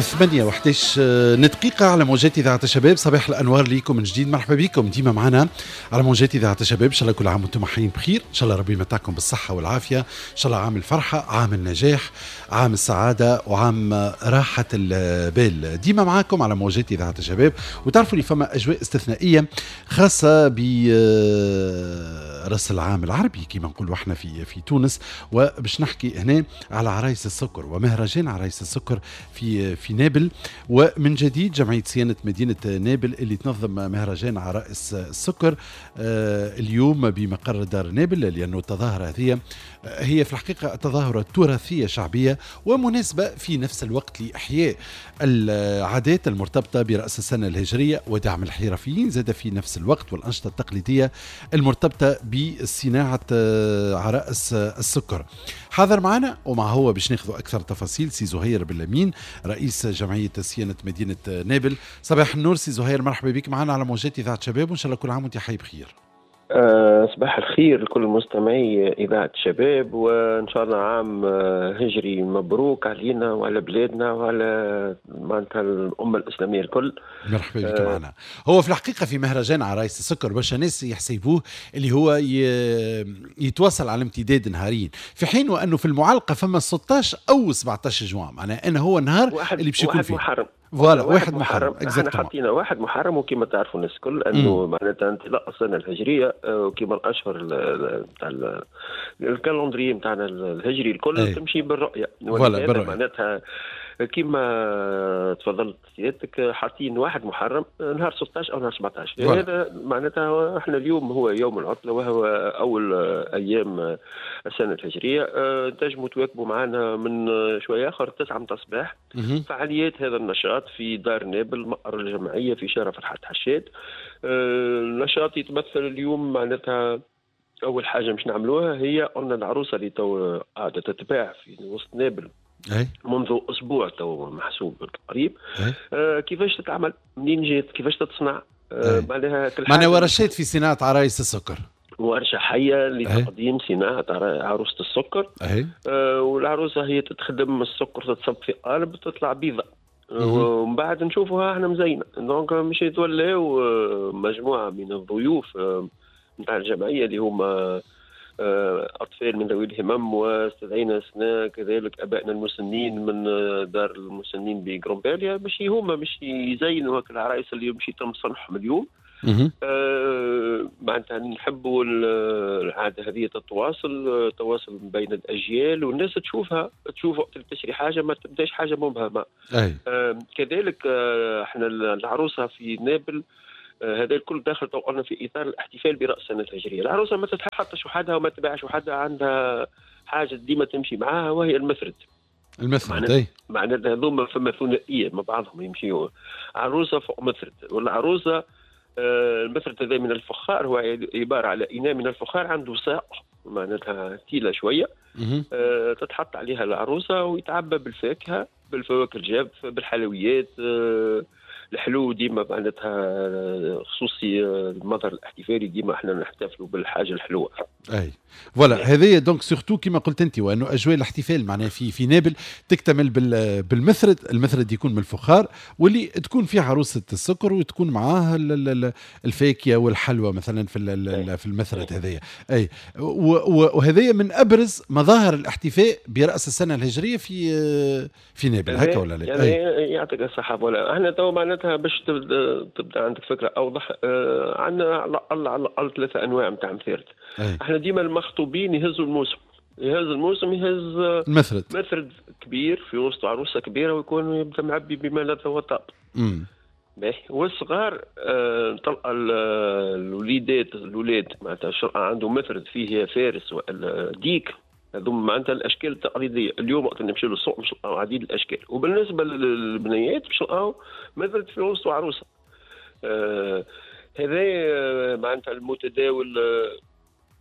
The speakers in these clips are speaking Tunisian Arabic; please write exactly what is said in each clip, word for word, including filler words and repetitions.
ثمانية وحداش دقيقة على موجات إذاعة الشباب. صباح الأنوار ليكم من جديد، مرحبا بكم ديما معنا على موجات إذاعة الشباب. إن شاء الله كل عام وأنتم حيين بخير، إن شاء الله ربي يمتعكم بالصحة والعافية، إن شاء الله عام الفرحة، عام النجاح، عام السعادة، وعام راحة البال. ديما معاكم على موجات إذاعة الشباب، وتعرفوا اللي فما أجواء استثنائية خاصة برأس العام العربي كما نقولوا احنا في في تونس. وباش نحكي هنا على عرايس السكر ومهرجان عرايس السكر في في نابل. ومن جديد جمعية صيانة مدينة نابل اللي تنظم مهرجان عرائس السكر اليوم بمقر دار نابل، لأنه التظاهرة هذه هي في الحقيقة تظاهرة تراثية شعبية ومناسبة في نفس الوقت لإحياء العادات المرتبطة برأس السنة الهجرية ودعم الحرفيين زاد في نفس الوقت، والأنشطة التقليدية المرتبطة بصناعة عرائس السكر. حاضر معنا ومع هو باش ناخذ أكثر تفاصيل سي زهير بالأمين رئيس جمعية صيانة مدينة نابل. صباح النور سي زهير، مرحبا بك معنا على موجات إذاعة شباب، وإن شاء الله كل عام وأنت حي بخير. أه صباح الخير لكل مستمعي إذاعة الشباب، وإن شاء الله عام هجري مبروك علينا وعلى بلادنا وعلى معناتها الأمة الإسلامية الكل. مرحبا بك أه معنا. هو في الحقيقة في مهرجان عرايس السكر برشا ناس يحسبوه اللي هو يتواصل على امتداد نهارين، في حين وأنه في المعلقة فما ستة عشر أو سبعة عشر جوان، معناها أنه هو النهار اللي باش يكون فيه محرم. voilà واحد محرم. احنا حطينا واحد محرم، وكما تعرفوا الناس الكل انه معناتها انطلاق السنة الهجرية وكما الاشهر نتاع ال calendrier نتاعنا الهجري الكل أي. تمشي بالرؤية. voilà بالرؤية معناتها كما تفضلت سيادتك حاطين واحد محرم نهار ستة عشر او نهار سبعة عشر. هذا معناتها احنا اليوم هو يوم العطلة وهو اول ايام السنة الهجرية. تنجموا تواكبوا معنا من شوية اخر تسعة متاع الصباح فعاليات هذا النشاط في دار نابل مقر الجمعية في شارع فرحات حشاد. النشاط يتمثل اليوم معناتها اول حاجة مش نعملوها هي قلنا العروسة اللي تو قاعدة تتباع في وسط نابل أي. منذ اسبوع تو محسوب تقريب. آه كيفاش تتعمل، منين جات، كيفاش تتصنع، آه معناها كل حاجة. معناها ورشات في صناعة عرايس السكر، ورشه حيه لتقديم صناعة عروسه السكر. آه والعروسه هي تتخدم السكر، تتصب في قالب تطلع بيضة ومن بعد نشوفوها احنا مزينة. donc مش يتولاو مجموعة من الضيوف نتاع الجمعية اللي هما أطفال من ذوي الهمم، واستدعينا سنة كذلك أبائنا المسنين من دار المسنين بغرومباليا باش هما باش يزينوا هاك العرايس اللي باش يتم صنعهم اليوم. آه معناتها نحبوا العادة هذه تتواصل، تواصل بين الأجيال والناس تشوفها، تشوف وقت تشري حاجة ما تبداش حاجة مبهمة. آه كذلك آه احنا العروسة في نابل آه هذا الكل داخل طوعنا في اطار الاحتفال براس السنة الهجرية. العروسة ما تتحطش وحدها وما تباعش وحدها، عندها حاجة ديما تمشي معاها وهي المثرد. المثرد اي معناتها هذوما فما ثنائية مع بعضهم يمشيوا، عروسه فوق مثرد. والعروسه آه المثرد هذا من الفخار، هو عبارة على اناء من الفخار عنده ساق معناتها تيله شوية آه تتحط عليها العروسة ويتعبى بالفاكهه، بالفواكه الجافه، بالحلويات. آه الحلو ديما معناتها خصوصي المظهر الاحتفالي ديما احنا نحتفلوا بالحاجة الحلوة. اي voilà هذه donc surtout كيما قلت انت، وانه اجواء الاحتفال معناها في في نابل تكتمل بالمثرد، المثرد يكون من الفخار واللي تكون فيه عروسه السكر وتكون معاه الفاكهة والحلوى مثلا في في المثرد هذايا. اي وهذايا من ابرز مظاهر الاحتفاء براس السنة الهجرية في في نابل هكا ولا لا؟ يعني يعطيك الصحة. voilà احنا تو معناتها باش تبدا تبدا عندك فكرة اوضح، آه عندنا على الاقل على الاقل ثلاثة انواع نتاع مثارد. احنا ديما المخطوبين يهزوا الموسم، يهز الموسم، يهز مثرد، مثرد كبير في وسط عروسه كبيرة ويكون يبدا معبي بما لا وطاب. باهي. والصغار آه تلقى الوليدات، الولاد معناتها عنده مثرد فيه فارس ولا ديك، هذوما معناتها الاشكال التقليدية. اليوم وقت نمشيو للسوق باش نلقاو عديد الاشكال. وبالنسبة للبنيات باش نلقاو مثرد في وسط عروسه. آه هذا معناتها المتداول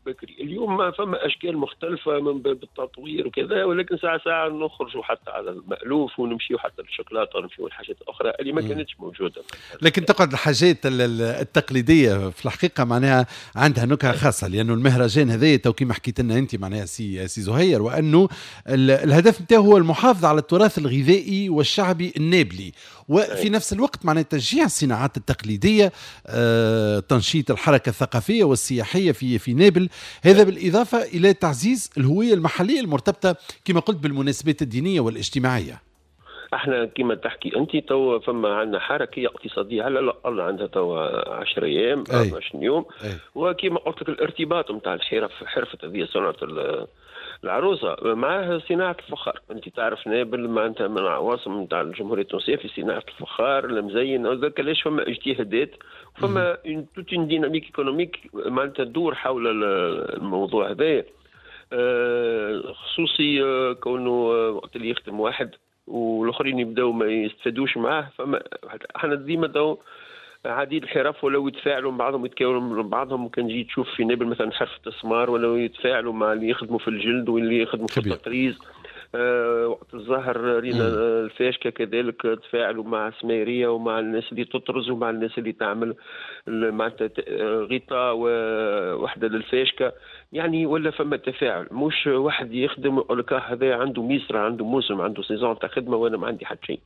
بكري. اليوم فما اشكال مختلفة من باب التطوير وكذا، ولكن ساعة ساعة نخرجوا حتى على المالوف ونمشيو حتى للشوكولاته ونمشيو لحاجات اخرى اللي ما كانتش موجودة. لكن تقعد الحاجات التقليدية في الحقيقة معناها عندها نكهة خاصة، لانه المهرجان هذا تو كيما حكيت لنا انت معناها سي سي زهير، وانه الهدف نتاعو هو المحافظة على التراث الغذائي والشعبي النابلي، وفي نفس الوقت معناها تشجيع الصناعات التقليدية، آه، تنشيط الحركة الثقافية والسياحيه في في نابل، هذا بالاضافة الى تعزيز الهوية المحلية المرتبطة كما قلت بالمناسبات الدينية والاجتماعية. احنا كما تحكي انت تو فما عندنا حركية اقتصادية على الاقل عندها تو عشرة ايام عشرين يوم. أي. وكما قلت لك الارتباط نتاع الحرف، حرفه هذه صنعه العروسة معاه صناعة الفخار. انت تعرف نابل معناتها من العواصم نتاع الجمهورية التونسية في صناعة الفخار المزين، هذاك علاش فما اجتهادات، فما toute une dynamique économique معناتها تدور حول الموضوع هذا، خصوصي كونه وقت اللي يخدم واحد والاخرين يبداو ما يستفادوش معاه. فما احنا ديما تو عديد الحرف ولو يتفاعلوا مع بعضهم يتكاونوا مع بعضهم. كان جي تشوف في نابل مثلا حرفة السمار ولو يتفاعلوا مع اللي يخدموا في الجلد واللي يخدموا في التطريز. أه وقت الظهر رينا الفاشكه كذلك تفاعلوا مع السميريه ومع الناس اللي تطرز ومع الناس اللي تعمل معناتها غطاء وحده للفاشكه، يعني ولا فما تفاعل، مش واحد يخدم يقول لك هذا عنده ميسرة، عنده موسم، عنده saison تاع خدمة وانا ما عندي حتى شيء.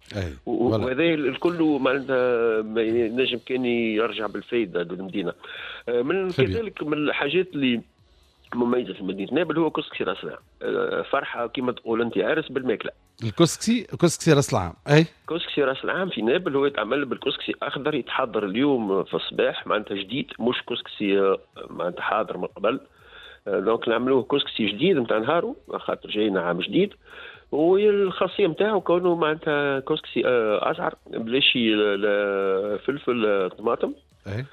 وهذا الكل معناتها ما ينجم كان يرجع بالفائدة للمدينة. من كذلك من الحاجات اللي مميزة في مدينة نابل هو كسكسي راس العام. فرحه كما تقول انت عرس بالماكله. الكسكسي كسكسي راس العام. اي كسكسي راس العام في نابل هو يتعمل بالكسكسي اخضر، يتحضر اليوم في الصباح معناتها جديد، مش كسكسي معناتها حاضر من قبل. donc نعملوه كسكسي جديد نتاع نهارو خاطر جاينا عام جديد، والخاصيه نتاعو كونه معناتها كسكسي ازعر بلاش فلفل طماطم. اي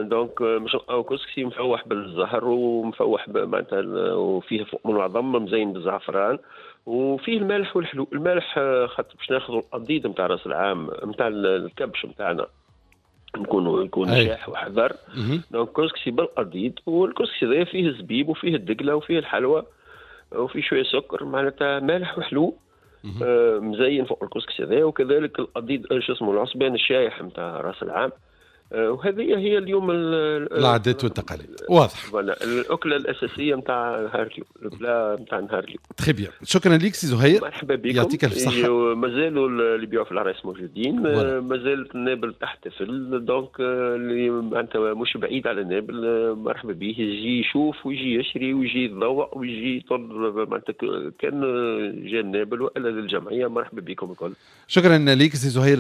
donc مش نلقاو كسكسي مفوح بالزهر ومفوح معناتها وفيه فوق من العظم مزين بالزعفران وفيه المالح والحلو. المالح خاطر باش ناخذوا القضيد نتاع راس العام نتاع الكبش نتاعنا نكونوا يكون شاح وحذر. donc كسكسي بالقضيد، والكسكسي هذا فيه الزبيب وفيه الدقله وفيه الحلوى وفيه شوية سكر، معناتها مالح وحلو آه مزين فوق الكسكسي هذا. وكذلك القضيد شو اسمه العصبان الشايح نتاع راس العام. وهذه هي اليوم العادات والتقاليد. واضح الاكلة الاساسية نتاع نهار اليوم، ال plat نتاع نهار اليوم. très bien، شكرا لك سي زهير، مرحبا بكم، يعطيك الف صحة. مازالوا اللي يبيعوا في العرايس موجودين، مازالت نابل تحتفل، donc اللي معناتها مش بعيد على نابل مرحبا به، يجي يشوف ويجي يشري ويجي يتذوق ويجي يطل، معناتها كان جا نابل والا للجمعية مرحبا بكم الكل. شكرا لك سي زهير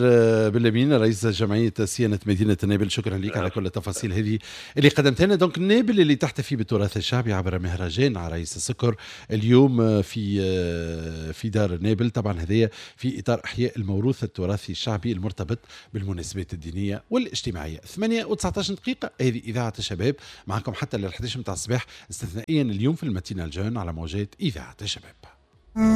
بلامين رئيس جمعية صيانة مدينة نابل، شكرا لك على كل التفاصيل هذه اللي قدمتها لنا. donc نابل اللي تحتفي بالتراث الشعبي عبر مهرجان عرايس السكر اليوم في في دار نابل، طبعا هذه في اطار احياء الموروث التراثي الشعبي المرتبط بالمناسبات الدينية والاجتماعية. ثمانية وتسعطاش دقيقة، هذه اذاعة الشباب معكم حتى لل إحداش متاع الصباح استثنائيا اليوم في ال matinale jeune على موجات اذاعة الشباب.